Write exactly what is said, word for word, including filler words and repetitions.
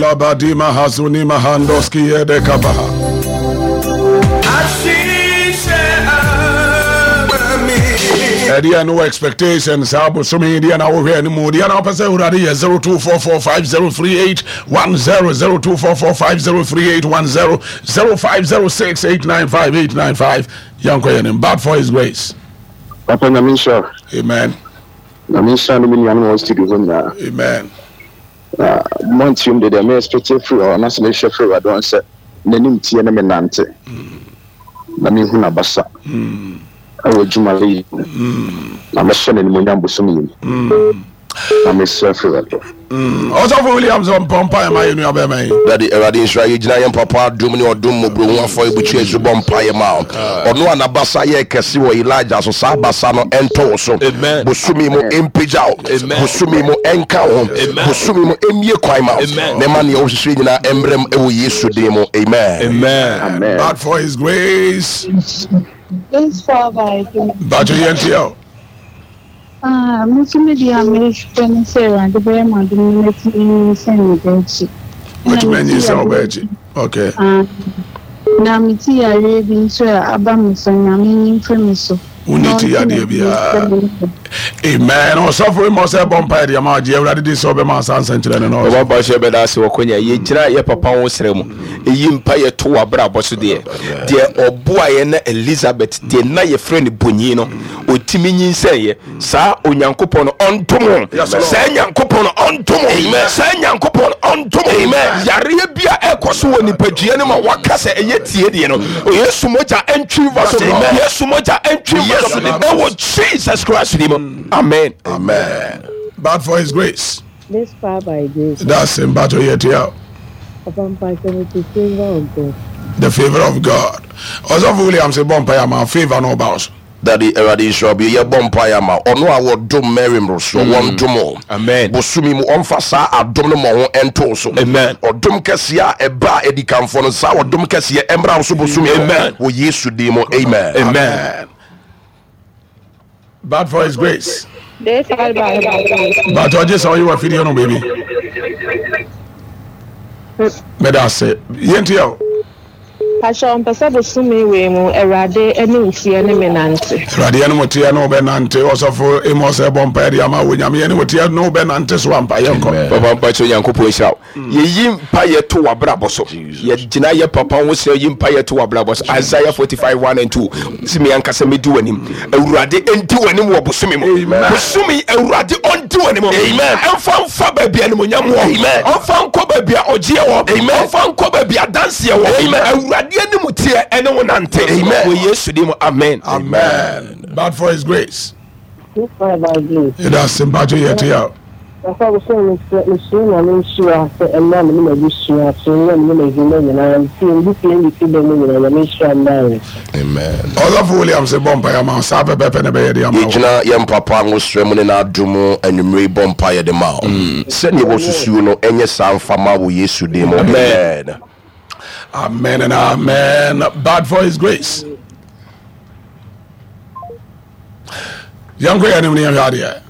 Labadima hazuni mahandoski yedekabaha. Ɛdeɛ no expectation saa bosome deɛ na wohwɛ anim, deɛ na wopɛ sɛ Awurade yɛ. zero two four four five zero three eight one zero, zero two four four five zero three eight one zero, zero five zero six eight nine five eight nine five. Yɛnkɔ yɛ nim. But for His grace. Papa, Nyame nhyira. Amen. Nyame nhyira no me nuanom a wɔ studio hɔ nyinaa. Amen. Na mɔntiom de, deɛ me expect firi hɔ anaasɛ mehwɛ firi Awurade hɔ sɛ n'anim tie ne me nante na mehu n'abasa ɛwɔ adwuma yi mu na mɛhyɛ n'animonyam bosom yi mu na mesrɛ firi Awurade hɔ. Ɔsɔfo Williams, ɔmpɔ mpa ɛma yɛ nua bɛma yi. Dade, Awurade nhyira. Yɛgyina yɛn papa adom ne ɔdom mmɔborɔhu afɔrebukyia so bɔ mpaeɛ ma wo. Ɔno a n'abasa yɛ kɛse wɔ Elijah so, saa abasa no ɛntɔ wo so. Amen. Bosome mu ɛmpagya wo. Amen. Bosome mu ɛnka wo ho. Amen. Bosome mu ɛmmie kwan ma wo. Amen. Na ɛma neɛ wohwehwɛ nyinaa ɛmmerɛm ɛwɔ Yesu din mu, amen. Amen. Amen. But for His grace. This far by grace. Bato yɛntiɛ o. Ah, me nso me deɛ a mehwɛ ne sɛ Awurade bɛyɛ m'adom na matumi anyinsɛn me ba akyi. Ɛna watumi mete anyinsɛn wo yareɛ ba akyi, okay. Ah, na mete yareɛ bi nso a aba me so, Nyame nyi mfiri me so. Wonni Na ti ɔnte yadeɛ m'anim biara. sɛ me Amen. Ɔsɔfo yi ma ɔsɛ bɔ mpa yɛ deɛ ma ɔgye Awurade di sɛ ɔbɛma asa nsɛnkyerɛ no na ɔsɛ Ɔba ba hyɛ bɛda ase wɔ konya yɛgyina yɛ papa ho srɛ mu, ɛyi mpa yɛto w'abrabɔ so. deɛ deɛ ɔboaeɛ na Elizabeth deɛ na yɛfrɛ no bonyi no ɔtumi nyinsɛnyɛ, saa Onyankopɔn no ɔntom ho. Yes, Lord. Saa Nyankopɔn no ɔntom ho. Saa Nyankopɔn no ɔntom ho. Yareɛ bi a ɛkɔ so wɔ nipadua no ma waka sɛ ɛyɛ tie deɛ no, Yesu mogya ɛntwi mfa so. Amen. Yesu mogya ɛntwi mfa so ɛwɔ Jesus Christ din mu, amen. Amen. But for His grace. This far by grace. That's him. Bato yɛtia o. Papa mpakyɛ, me the favor of God. The favor of God. Ɔsɔfo Williams, bɔ mpa yɛ ama favor no ɔba wo so. Dade, Awurade nhyira bio. Yɛbɔ mpaeɛ ama ɔno a wɔdom Mary mmorosoɔ, wɔndom o. Amen. Bosome mu ɔmfa saa adom no ma ho ɛnto so. Amen. Ɔdom kɛseɛ a ɛba a ɛdi no, saa ɔdom kɛseɛ ɛmmra wo so bosome mu. Amen. Wɔ Yesu din mu, amen. Amen. But for His grace. This far by grace. Bato ɔgye sɛ ɔyɛ wɔ afidie no baabi. Mɛda ase. Yɛntia o. Pakyɛ, mpɛ sɛ bosome wei mu Awurade ne wo teɛ ne me nante. Awurade ɛne mo teɛ ne wobɛnante. Ɔsɔfo Amos, ɛbɔ mpa yɛ de ama wo. Nyame ɛne wo teɛ ne wobɛnante so ampa. Yɛnkɔ. Papa mpakyɛ, Onyankopɔn nhyira wo. Yɛyi mpa yɛto w'abrabɔ so, yɛgyina yɛ papa ho srɛ, yi mpa yɛto w'abrabɔ so. Isaiah forty-five one and two sɛ me ankasa mɛdi w'anim. Awurade ɛnti w'anim wɔ bosome mu. Bosome, Awurade ɔnti w'anim. Amen. Ɛmfa mfa baabi a animonyam wɔ. Amen. Ɔmfa nkɔ baabi a ɔgyeɛ wɔ. Amen. Ɔmfa nkɔ baabi a adanseɛ wɔ. Amen. Awurade anim teɛ ɛne wo nante. Amen. Wɔ Yesu din mu, amen. Amen. But for His grace. This far by grace. Yɛda ase. Mpakyɛ, yɛtia o. Papa, bosome mesrɛ mesrɛ Nyame nhyira sɛ ɛmra me ne m'abusua so ne me ne m'adwuma nyinaa, mfie mbi fie ne fi bɛ mu nyinaa. Nyame nhyira mmaa. Amen. Ɔsɔfo Williams, bɔ mpa yɛ ama wo. Saa pɛpɛpɛ na ɛbɛyɛ de ama wo. Yɛgyina yɛn papa ngosrɛ mu ne n'adom anwummere yi bɔ mpaeɛ de ma wo sɛdeɛ wɔsusuo no ɛnyɛ saa mfama wɔ Yesu din mu, amen. Amen and amen. But for His grace. Yɛnkɔ yɛ anim ne yɛhwɛ adeɛ.